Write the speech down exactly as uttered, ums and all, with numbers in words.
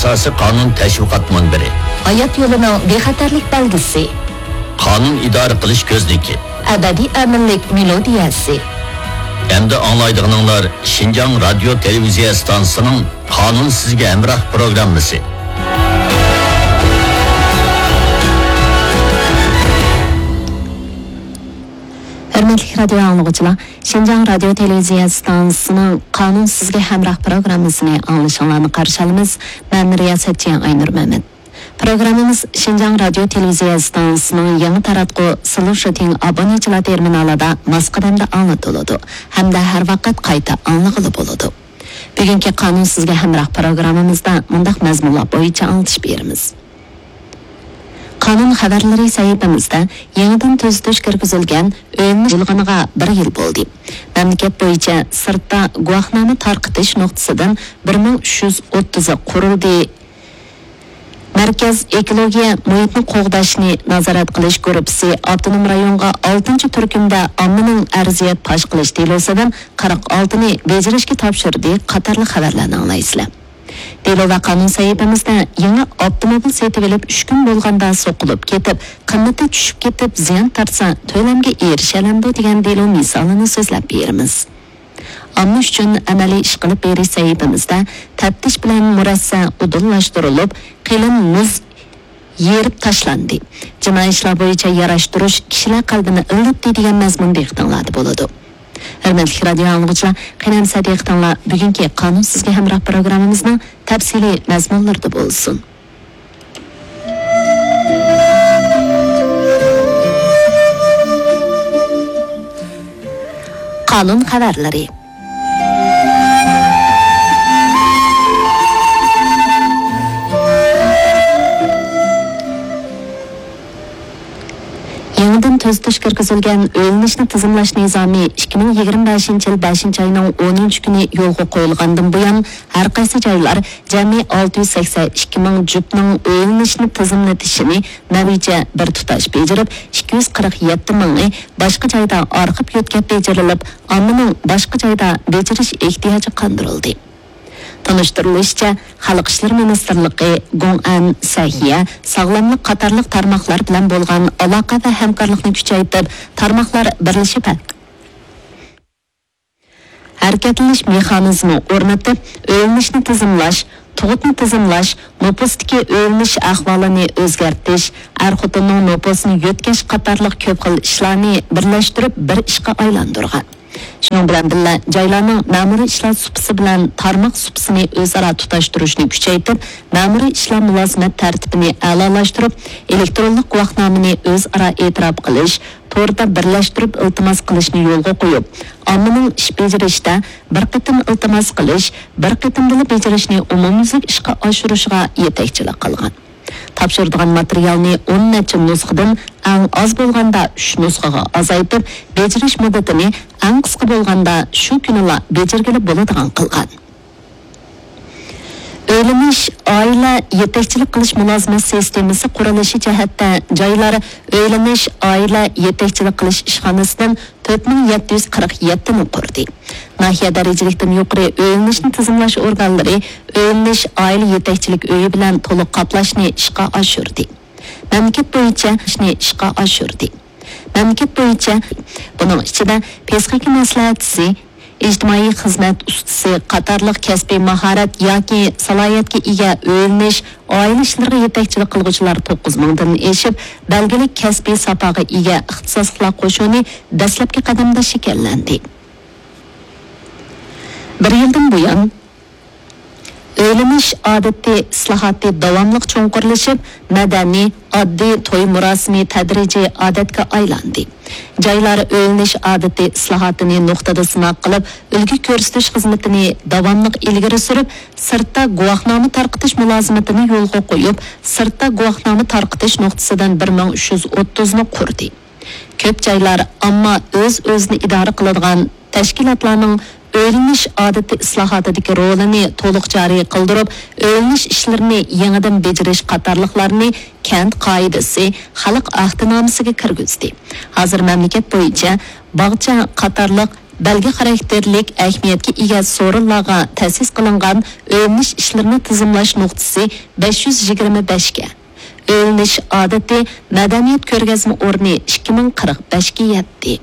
ئاساسىي قانۇن تەشۋىقات مۇنبىرى. ھايات يولىنىڭ بىخەتەرلىك بەلگىسى. قانۇن ئىدارە قىلىش كۆزنىكى. ئەبەدىي ئەمىنلىك مېلودىيەسى. ئەمدى ئاڭلايدىغىنىڭلار شىنجاڭ رادىيو تېلېۋىزىيە ئىستانسىسىنىڭ قانۇن سىزگە ھەمراھ پروگراممىسى. ھۆرمەتلىك رادىيو ئاڭلىغۇچىلار، شىنجاڭ رادىيو تېلېۋىزىيە ئىستانسىسىنىڭ قانۇن سىزگە ھەمراھ پروگراممىسىنى ئاڭلىشىڭلارنى قارشى ئالىمىز. مەن رىياسەتچى ئاينۇر مەمەت. پروگراممىمىز شىنجاڭ رادىيو تېلېۋىزىيە ئىستانسىسىنىڭ يېڭى تاراتقۇ سلۇشىتىڭ ئابونېنتچىلار تېرمىنالىدا ماس قەدەمدە ئاڭلىتىلىدۇ ھەمدە ھەر ۋاقىت قايتا ئاڭلىغىلى بولىدۇ. بۈگۈنكى قانۇن سىزگە ھەمراھ پروگراممىمىزدا مۇنداق مەزمۇنلار بويىچە ئاڭلىتىش بېرىمىز. قانۇن خەۋەرلىرى سەھىپىمىزدە يېڭىدىن تۈزىتىش كىرگۈزۈلگەن ئۆيلىنىش قۇرۇلغىنىغا بىر يىل بولدى. مەملىكەت بويىچە سىرتتا گۇۋاھنامە تارقىتىش نۇقتىسىدىن بىر مىڭ ئۈچ يۈز ئوتتۇزى قۇرۇلدى. مەركەز ئېكولوگىيە مۇھىتنى قوغداشنى نازارەت قىلىش گۇرۇپپىسى ئاپتونوم رايونغا ئالتىنچى تۈركۈمدە ئاممىنىڭ ئەرزىيەت پاش قىلىش دېلوسىدىن قىرىق ئالتىنى بېجىرىشكە تاپشۇردى قاتارلىق خەۋەرلەرنى ئاڭلايسىلەر. دېلو ۋە قانۇن سەھىپىمىزدە يېڭى ئاپتوموبىل سېتىۋېلىپ ئۈچ كۈن بولغاندا سوقۇلۇپ كېتىپ، قىممىتى چۈشۈپ كېتىپ زىيان تارتسا تۆلەمگە ئېرىشەلەمدۇ دېگەن دېلو مىسالىنى سۆزلەپ بېرىمىز. ئامما ئۈچۈن ئەمەلىي ئىش قىلىپ بېرىش سەھىپىمىزدە تەپتىش بىلەن مۇرەسسە ئۇدۇللاشتۇرۇلۇپ، قېلىن مۇز يېرىپ تاشلاندى. جىنايى ئىشلار بويىچە ياراشتۇرۇش كىشىلەر قەلبىنى ئىللىتتى دېگەن مەزمۇن دىققىتىڭلاردا بولىدۇ. ھۆرمەتلىك رادىيو ئاڭلىغۇچىلار، قېنى ئەمسە دىققىتىڭلار بۈگۈنكى قانۇن سىزگە ھەمراھ پروگراممىمىزنىڭ تەپسىلىي مەزمۇنلىرىدا بولسۇن. قانۇن خەۋەرلىرى. يېڭىدىن تۈزىتىش كىرگۈزۈلگەن ئۆيلىنىشنى تىزىملاش نىزامى ئىككى مىڭ يىگىرمە بەشىنچى يىل بەشىنچى ئاينىڭ ئونىنچى كۈنى يولغا قويۇلغاندىن بۇيان، ھەر قايسى جايلار جەمئىي ئالتە يۈز سەكسەن ئىككى مىڭ جۈپنىڭ ئۆيلىنىشنى تىزىملىتىشىنى مەۋىجە بىر تۇتاش بېجىرىپ، ئىككى يۈز قىرىق يەتتە مىڭى باشقا جايدا ئارقىپ يۆتكەپ بېجىرىلىپ، ئاممىنىڭ باشقا جايدا بېجىرىش ئېھتىياجى قاندۇرۇلدى. تونۇشتۇرۇلۇشىچە، خەلق ئىشلىرى مىنىستىرلىقى، گوڭئەن، سەھىيە، ساغلاملىق قاتارلىق تارماقلار بىلەن بولغان ئالاقە ۋە ھەمكارلىقنى كۈچەيتىپ، تارماقلار بىرلىشىپ ھەر-، ھەرىكەتلىنىش مېخانىزمى ئورنىتىپ، ئۆيلىنىشنى تىزىملاش، تۇغۇتنى تىزىملاش، نوپۇستىكى ئۆيلىنىش ئەھۋالىنى ئۆزگەرتىش، ئەر-خوتۇننىڭ نوپۇسىنى يۆتكەش قاتارلىق كۆپ خىل ئىشلارنى بىرلەشتۈرۈپ بىر ئىشقا ئايلاندۇرغان. شۇنىڭ بىلەن بىللە، جايلارنىڭ مەمۇرىي ئىشلار سۇپىسى بىلەن تارماق سۇپىسىنى ئۆزئارا تۇتاشتۇرۇشنى كۈچەيتىپ، مەمۇرىي ئىشلار مۇلازىمەت تەرتىپىنى ئەلالاشتۇرۇپ، ئېلېكترونلۇق گۇۋاھنامىنى ئۆزئارا ئېتىراپ قىلىش، توردا بىرلەشتۈرۈپ ئىلتىماس قىلىشنى يولغا قويۇپ، ئاممىنىڭ ئىش بېجىرىشتە بىر قېتىم ئىلتىماس قىلىش، بىر قېتىمدىلا بېجىرىشنى ئومۇميۈزلۈك ئىشقا ئاشۇرۇشىغا يېتەكچىلىك قىلغان. تاپشۇرىدىغان ماتېرىيالنى ئون نەچچە نۇسخىدىن ئەڭ ئاز بولغاندا ئۈچ نۇسخىغا ئازايتىپ، بېجىرىش مۇددىتىنى ئەڭ قىسقا بولغاندا شۇ كۈنىلا بېجىرگىلى بولىدىغان قىلغان. ئۆيلىنىش، ئائىلە يېتەكچىلىك قىلىش مۇلازىمەت سىستېمىسى قۇرۇلۇشى جەھەتتە جايلار ئۆيلىنىش، ئائىلە يېتەكچىلىك قىلىش ئىشخانىسىدىن تۆت مىڭ يەتتە يۈز قىرىق يەتتىنى قۇردى. ناھىيە دەرىجىلىكتىن يۇقىرى ئۆيلىنىشنى تىزىملاش ئورگانلىرى ئۆيلىنىش، ئائىلە يېتەكچىلىك ئۆيى بىلەن تولۇق قاپلاشنى ئىشقا ئاشۇردى. مەملىكەت بويىچە ئىشنى ئىشقا ئاشۇردى. مەملىكەت بويىچە، بۇنىڭ ئىچىدە پسىخىكا مەسلىھەتچىسى، ئىجتىمائىي خىزمەت ئۇستىسى قاتارلىق كەسپىي ماھارەت ياكى سالاھىيەتكە ئىگە ئۆيلىنىش، ئائىلە ئىشلىرىغا يېتەكچىلىك قىلغۇچىلار توققۇز مىڭدىن ئېشىپ، بەلگىلىك كەسپىي ساپاغا ئىگە ئىختىساسلىقلار قوشۇنى دەسلەپكى قەدەمدە شەكىللەندى. بىر يىلدىن بۇيان، ئۆيلىنىش ئادىتى ئىسلاھاتى داۋاملىق چوڭقۇرلىشىپ، مەدەنىي، ئاددىي توي مۇراسىمى تەدرىجىي ئادەتكە ئايلاندى. جايلار ئۆيلىنىش ئادىتى ئىسلاھاتىنى نۇقتىدا سىناق قىلىپ، ئۈلگە كۆرسىتىش خىزمىتىنى داۋاملىق ئىلگىرى سۈرۈپ، سىرتتا گۇۋاھنامە تارقىتىش مۇلازىمىتىنى يولغا قويۇپ، سىرتتا گۇۋاھنامە تارقىتىش نۇقتىسىدىن بىر مىڭ ئۈچ يۈز ئوتتۇزنى قۇردى. كۆپ جايلار ئامما ئۆز-ئۆزىنى ئىدارە قىلىدىغان تەشكىلاتلارنىڭ ئۆيلىنىش ئادىتى ئىسلاھاتىدىكى رولىنى تولۇق جارى قىلدۇرۇپ، ئۆيلىنىش ئىشلىرىنى يېڭىدىن بېجىرىش قاتارلىقلارنى كەنت قائىدىسى، خەلق ئەھدىنامىسىگە كىرگۈزدى. ھازىر مەملىكەت بويىچە باغچە قاتارلىق بەلگە خاراكتېرلىك ئەھمىيەتكە ئىگە سورۇنلارغا تەسىس قىلىنغان ئۆيلىنىش ئىشلىرىنى تىزىملاش نۇقتىسى بەش يۈز يىگىرمە بەشكە، ئۆيلىنىش ئادىتى مەدەنىيەت كۆرگەزمە ئورنى ئىككى مىڭ قىرىق بەشكە يەتتى.